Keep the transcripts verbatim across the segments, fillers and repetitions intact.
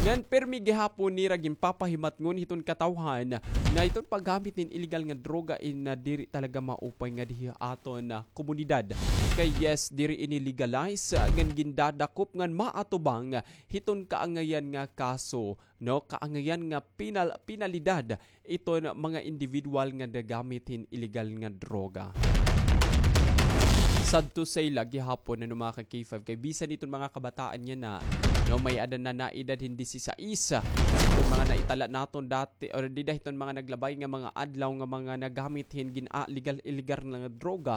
Ngan pirmi gihapon nira ginpapahimatngon hiton katawhan nga iton paggamit hin illegal nga droga in, ah, diri talaga maupay ngadi ha aton, ah, komunidad. Kay yes, diri ini legalize, ah, ngan gindadakop ngan maatubang hiton kaangayan nga kaso, no, kaangayan nga penal-, penalidad iton mga individual nga nagamit hin illegal nga droga. Sad to say la gihapon, ano, mga ka-K five, kay bisan iton mga kabataan yana, no, may-ada na naedad hin disisais, iton mga naitala naton dati, or dida hiton mga naglabay nga mga adlaw nga mga nagamit hin gin-, ah, legal, illegal nga droga,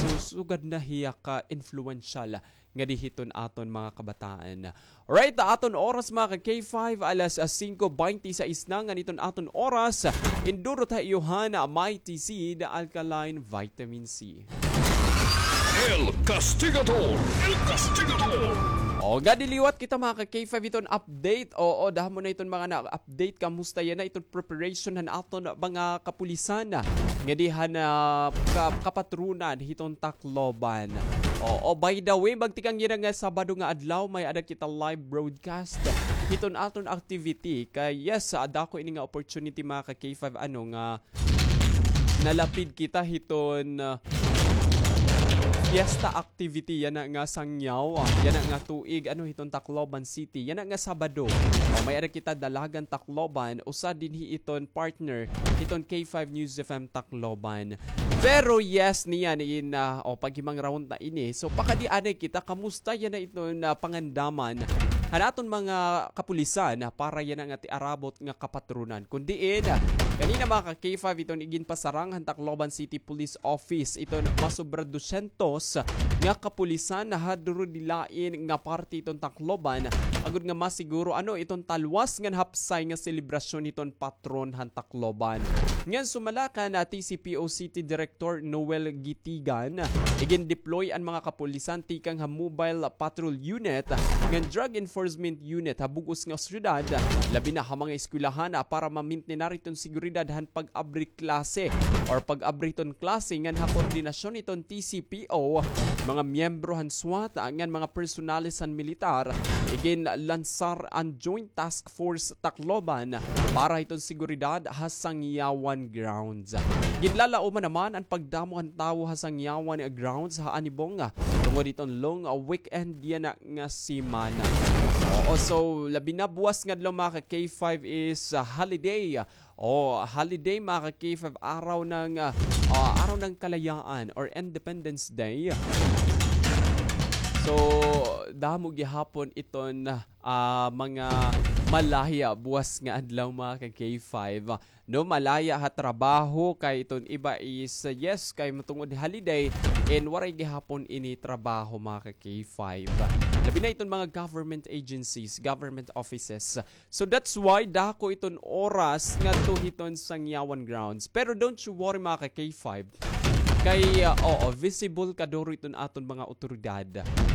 so sugad na hiya ka-influential ngadi hiton aton mga kabataan. Alright, aton oras, mga ka-K five, alas, ah, singko baynte sais na ngan iton aton oras. Indurot ha iyo han Mighty Seed Alkaline Vitamin C. El Castigador! El Castigador! O, ngadi liwat kita, mga ka-K five, iton update. Oo, damo na iton mga na-update. Kamusta yana iton preparation han aton mga kapulisan ngadi han, ah, ka-, kapatronan hiton Tacloban. Oo, by the way, magtikang yana nga Sabado nga adlaw, may-ada kita live broadcast hiton aton activity. Kay yes, ah, dako ini nga opportunity, mga ka-K five, ano, nga nalapid kita hiton, ah, fiesta activity yana nga sangyaw, ah, yana nga tuig, ano, hiton Tacloban City, yana nga Sabado. O, may-ada kita Dalagan Tacloban, usa dinhi iton partner hiton K five News F M Tacloban. Pero yes, niyan in, ah, o, paghimangrawon ta ini. So, pakadi anay kita, kamusta yana iton, ah, pangandaman han aton mga kapulisan, ah, para yana nga tiarabot nga kapatronan. Kun diin, ah, kanina, mga ka-K five, iton iginpasarang han Tacloban City Police Office, iton masobra dosyentos nga kapulisan ha durudilain nga parte iton Tacloban, agod nga masiguro, ano, iton talwas ngan hapsay nga selebrasyon hiton patron han Tacloban. Ngan sumala kan, ah, T C P O City Director Noel Gitigan, igindeploy an mga kapulisan tikang ha Mobile Patrol Unit ngan Drug Enforcement Unit ha bug-os nga syudad, labi na ha mga eskwelahan, ah, para mamintnar iton seguridad han pag-abri klase or pag-abri hiton klase ngan ha koordinasyon hiton T C P O, mga miyembro han SWAT, ah, ngan mga personales han militar, iginlansar an Joint Task Force Tacloban para hiton seguridad ha Sangyawan Grounds. Ginlalauman naman an pagdamo han tawo ha Sangyawan Grounds ha Anibong, ah, tungod hiton long, ah, weekend yana nga semana. Oo, so, labi na buwas nga adlaw, mga ka-K five, is, ah, holiday. O, holiday, mga ka-K five, araw ng, ah, ah, araw ng kalayaan or Independence Day. So, damo gihapon iton, ah, mga malaya buwas nga adlaw, mga ka-K five. No, malaya ha trabaho, kay iton iba is, ah, yes, kay matungod holiday, and waray gihapon ini trabaho, mga ka-K five. Labi na iton mga government agencies, government offices. So that's why dako iton oras ngadto hiton Sangyawan Grounds. Pero don't you worry, mga ka-K five. Kay, ah, oo, visible kaduro iton aton mga awtoridad.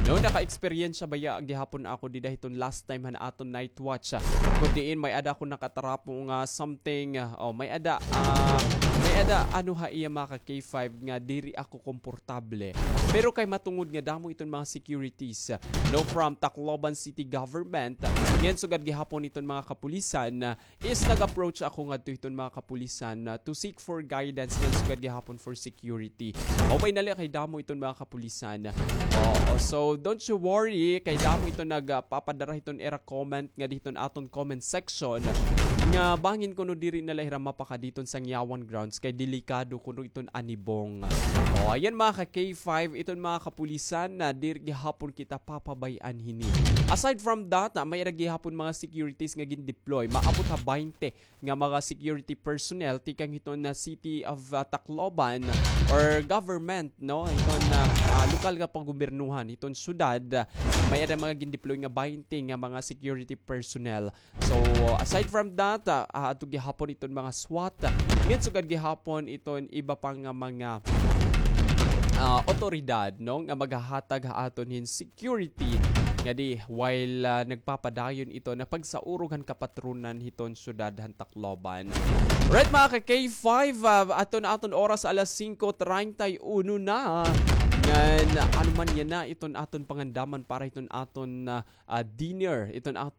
No, naka-eksperyensya baya gihapon ako dida hiton last time han aton night watch, ah. Kun diin may-ada ako nakatarapo nga something, ah, oh, may-ada, ah, may-ada ano ha iya, mga ka-K five, nga diri ako komportable. Pero kay matungod nga damo iton mga securities, ah, no, from Tacloban City Government, ngan sugad gihapon iton mga kapulisan, ah, is nag-approach ako ngadto hiton mga kapulisan, ah, to seek for guidance ngan sugad gihapon for security. Maupay na la kay damo iton mga kapulisan. Oo, so don't you worry, kay damo iton nagpapadara hiton ira comment ngadi hiton aton comment section nga bangin kuno diri na la hira mapakadi hiton Sangyawan Grounds kay delikado kuno iton Anibong. O, ayan, mga ka-K five, iton mga kapulisan na diri gihapon kita papabay-an hini. Aside from that, ah, may-ada gihapon mga securities nga gin-deploy. Maabot ha baynte nga mga security personnel tikang hiton na City of, ah, Tacloban or government, no? Hiton na, ah, lokal nga panggobyernohan hiton syudad, ah, may-ada mga gin-deploy nga baynte nga mga security personnel. So, aside from that, ah, ah, adto gihapon iton mga SWAT, ngan sugad gihapon iton iba pa nga mga, ah, awtoridad, no, nga maghahatag ha aton hin security ngadi while, ah, nagpapadayon iton na pagsaurog han kapatronan hiton syudad han Tacloban. Right, mga ka-K five, ah, aton, aton oras alas singko treinta y uno na. Ngan, ano man yana iton aton pangandaman para hiton aton, ah, ah, dinner, iton aton